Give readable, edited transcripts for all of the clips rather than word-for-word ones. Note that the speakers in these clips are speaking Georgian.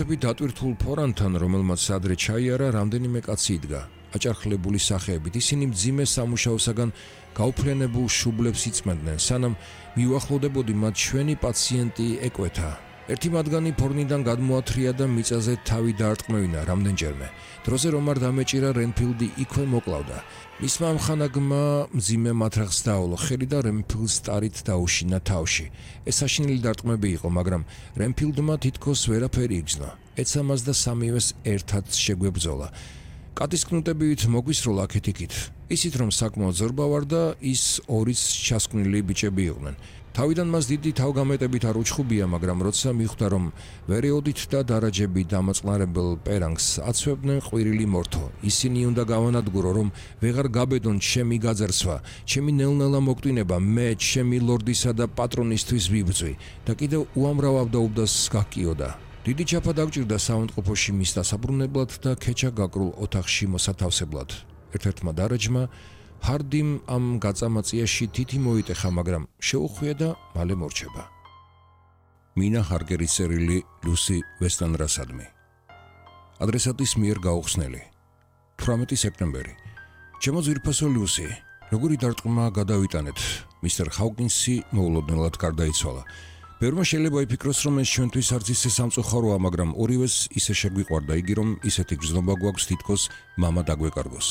დატვირთულ ფორანთან, რომელმაც ადრე ჩაიარა, რამდენიმე კაცი იდგა. აჭარხლებული სახეებით ისინი მძიმე სამუშაოსაგან გაუფრენებულ შუბლებს იწმენდნენ, სანამ მიუახლოვდებოდი მათ ჩვენი პაციენტი ეკვეთა. ერთი მათგანი ფორნიდან გადმოათრია და მიწაზე თავი დაარტყმევინა რამდენჯერმე. დროზე რომ არ დამეჭირა, რენფილდი იქვე მოკლავდა. მისმა ამხანაგმა მძიმე მათრახს დააოლო ხელი და რენფილდს ტარით დაუშინა თავში. ეს საშინელი დარტყმები იყო, მაგრამ რენფილდმა თითქოს ვერაფერი იგრძნო. ეცა მას და სამივეს ერთად შეგვებრძოლა. კატის კნუტებით მოგვისროლა აქეთ-იქით. ისიც რომ საკმაოდ ზორბა ვარ და ის ორიც ჩასკვნილი ბიჭები იყვნენ. თავიდან მას დიდი თავგამეტებით არ უჩხუბია, მაგრამ როცა მიხვდა რომ ვერეოდით და დარაჯები დამოწყნარებელ პერანგს აცვებდნენ ყვირილი მორთო, ისინი უნდა გავანადგურო, რომ ვეღარ გაბედონ ჩემი გაძარცვა, ჩემი ნელ-ნელა მოკვდინება, მე ჩემი ლორდისა და პატრონისთვის ვიბრძვი და კიდევ უამრავ ავდაუბდას გაკიოდა. დიდი ჩაფა დაგჭირდა საავადმყოფოში მის დასაბრუნებლად და ქეჩა გაკრულ ოთახში მოსათავსებლად. ერთ-ერთმა დარაჯმა ჰარდიმ ამ გაწამაწიაში თითი მოიტეხა, მაგრამ შეუხვია და მალე მორჩება. მინა ჰარგერის წერილი ლუსი ვესტანრასადმი. ადრესატის მიერ გაუხსნელი. 18 სექტემბერი. ჩემო ძვირფასო ლუსი, როგორი დარტყმა გადავიტანეთ? მისტერ ჰაუკინსი მოულოდნელად გარდაიცვალა. ბევრმა შეიძლება იფიქროს, რომ ეს ჩვენთვის არც ისე სამწუხაროა, მაგრამ ორივეს ისე შეგვიყვარდა იგი, რომ ისეთი გრძნობა გვაქვს თითქოს მამა დაგვეკარგოს.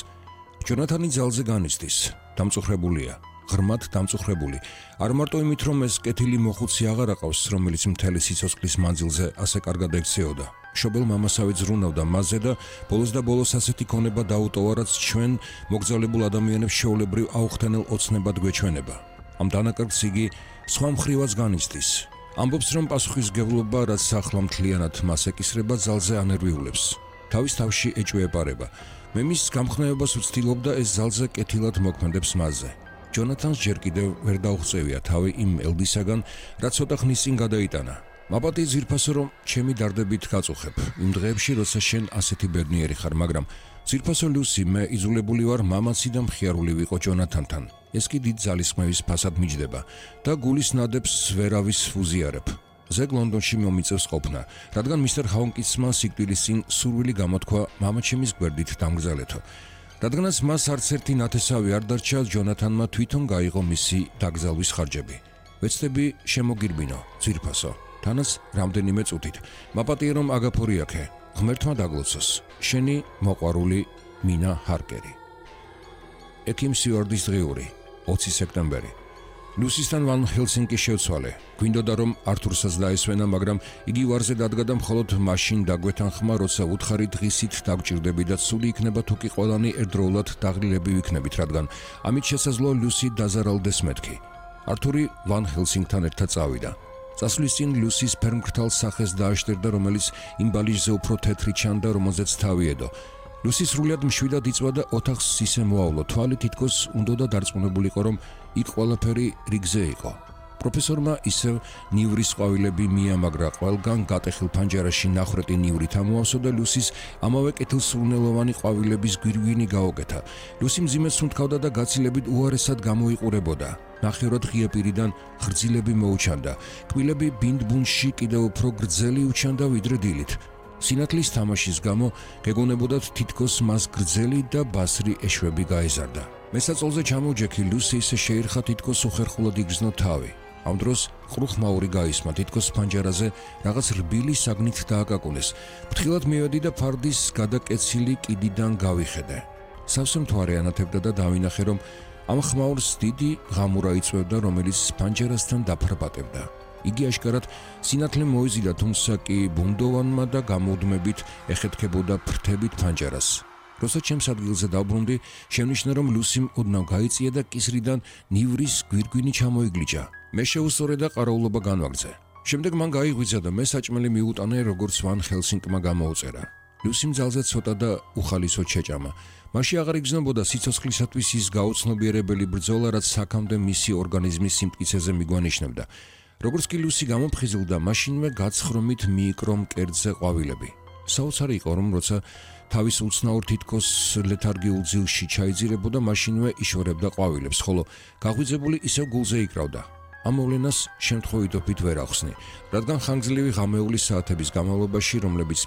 ჯონათანი ძალზე განიცდის, დამწუხრებულია, ღრმად დამწუხრებული. არ მარტო იმით, რომ ეს კეთილი მოხუცი აღარ აყავს, რომელიც მთელი სიცოცხლის მანძილზე ასე კარგად ექცეოდა. მშობელ მამასავე ზრუნავდა მასზე და ბოლოს და ბოლოს ასეთი ქონება დაუტოვა, რაც ჩვენ მოგზაურებულ ადამიანებს შეულებრივ აუხთენელ ოცნებად გვეჩვენება. ამ დანაკარგს იგი სხვა მხრივაც განიცდის. ამბობს, რომ პასუხისმგებლობა, რაც ახლა მთლიანად მას ეკისრება, ძალზე ანერვიულებს. თავის თავში ეჭვეეპარება. მე მის გამხნევებას ვცდილობდა, ეს ძალზე კეთილად მოქმედებს მასზე. ჯონათანს ჯერ კიდევ ვერ დაუღწევია თავი იმ ელდისაგან, რაც ცოტა ხნის წინ გადაიტანა. მაპატი ძირფასო, რომ ჩემი დარდებით გაწუხებ იმ დღეებში, როცა შენ ასეთი ბედნიერი ხარ, მაგრამ ძირფასო ლუსი, მე იზოლებული ვარ მამაცი და მხიარული ვიყო ჯონათანთან. ეს კი დიდ ძალისხმევის ფასად მიჯდება და გულის ნადებს ვერავის ვუზიარებ. ზეგ ლონდონში მომიწევს ყოფნა, რადგან მისტერ ჰაუკინსმა სიკვდილის წინ სურვილი გამოთქვა მამაჩემის გვერდით დამგზავრეთო. რადგანაც მას არც ერთი ნათესავი არ დარჩა, ჯონათანმა თვითონ გაიღო მისი დაკრძალვის ხარჯები. ვეცდები შემოგირბინო, ძვირფასო, თანაც რამდენიმე წუთით. მაპატია რომ აგაფორიაქე, ღმერთმა დაგლოცოს. შენი მოყვარული მინა ჰარკერი. ექიმ სიუარდის დღიური, 20 სექტემბერი. ლუსისთან ვან ჰელსინკი შევცვალე. გვინდოდა რომ ართურსაც დაესვენა, მაგრამ იგი ვარზე დადგა და მხოლოდ მაშინ დაგვეთანხმა, როცა უთხარი დღისით დაგჭირდები და ცუდი იქნება თუ კი ყველანი ერთდროულად დაღლილები ვიქნებით, რადგან ამით შესაძლოა ლუსი დაზარალდეს მეთქი. ართური ვან ჰელსინკთან ერთად წავიდა. წასვლის წინ ლუსის ფერმკრთალ სახეს დააშტერდა, რომელიც იმ ბალიჟზე უფრო თეთრი ჩანდა, რომელზეც თავი ედო. ლუსი სრულიად მშვიდად იწვა და ოთახს ისე მოავლო, თვალი თითქოს უნდოდა დარწმუნებულიყო, რომ იქ ყველაფერი რიგზე იყო. პროფესორმა ისევ ნივრის ყვავილები მიამაგრა, ყველგან გატეხილ ფანჯარაში ნახრეტი ნივრით ამოავსო და ლუსის ამავე კეთილსურნელოვანი ყვავილების გვირგვინი გაუკეთა. ლუსი მძიმედ სუნთქავდა და გაცილებით უარესად გამოიყურებოდა. ნახევრად ღია პირიდან ღრძილები მოუჩანდა. კბილები ბინდბუნში კიდევ უფრო გრძელი უჩანდა ვიდრე დილით. სინათლის თამაშის გამო გეგონებოდათ თითქოს მას გრძელი და ბასრი ეშვები გაეზარდა. მესაწოლზე ჩამოჯექი ლუსი ისე შეირხა, თითქოს უხერხულად იგრძნო თავი. ამ დროს ყრუხმაური გაისმა, თითქოს ფანჯარაზე რაღაც რბილი საგნით დააკაკუნეს. ფრთხილად მივედი და ფარდის გადაკეცილი კიდიდან გავიხედე. სავსე მთვარე ანათებდა და დავინახე, რომ ამ ხმაურს დიდი ღამურა იწვევდა, რომელიც ფანჯარასთან დაფრბატებდა. იგი აშკარად სინათლე მოიზიდა, თუმცა კი ბუნდოვანმა და გამოუდმებით ეხეთქებოდა ფრთებით ფანჯარას. როცა ჩემს ადგილზე დავბრუნდი, შევნიშნა, რომ ლუსიმ ოდნავ გაიწია და კისრიდან ნივრის გვირგვინი ჩამოიგლიჯა. მე შეუსწორე და ყარაულობა განვაგრძე. შემდეგ მან გაიღვიძა და მე საჭმელი მიუტანა, როგორც ვან ჰელსინკმა გამოუწერა. ლუსიმ ძალზე ცოტა და უხალისოდ შეჭამა. მაშინ აღარ იგრძნობოდა სიცოცხლისათვის ის გაუცნობიერებელი ბრძოლა, რაც საქამდე მისი ორგანიზმის სიმტკიცეზე მიგვანიშნებდა. როგორც კი ლუსი გამოფხიზლდა, მაშინვე გაცხრომით მიიკრო მკერდზე ყვავილები. საოცარი იყო, რომ როცა თავის უცნაურ თითქოს ლეთარგიულ ძილში ჩაიძირებოდა, მაშინვე იშორებდა ყვავილებს, ხოლო გაღვიძებული ისევ გულზე იკრავდა. ამ მოვლენას შემთხვევითობით ვერ ახსნი, რადგან ხანგრძლივი ღამეული საათების განმავლობაში, რომლებიც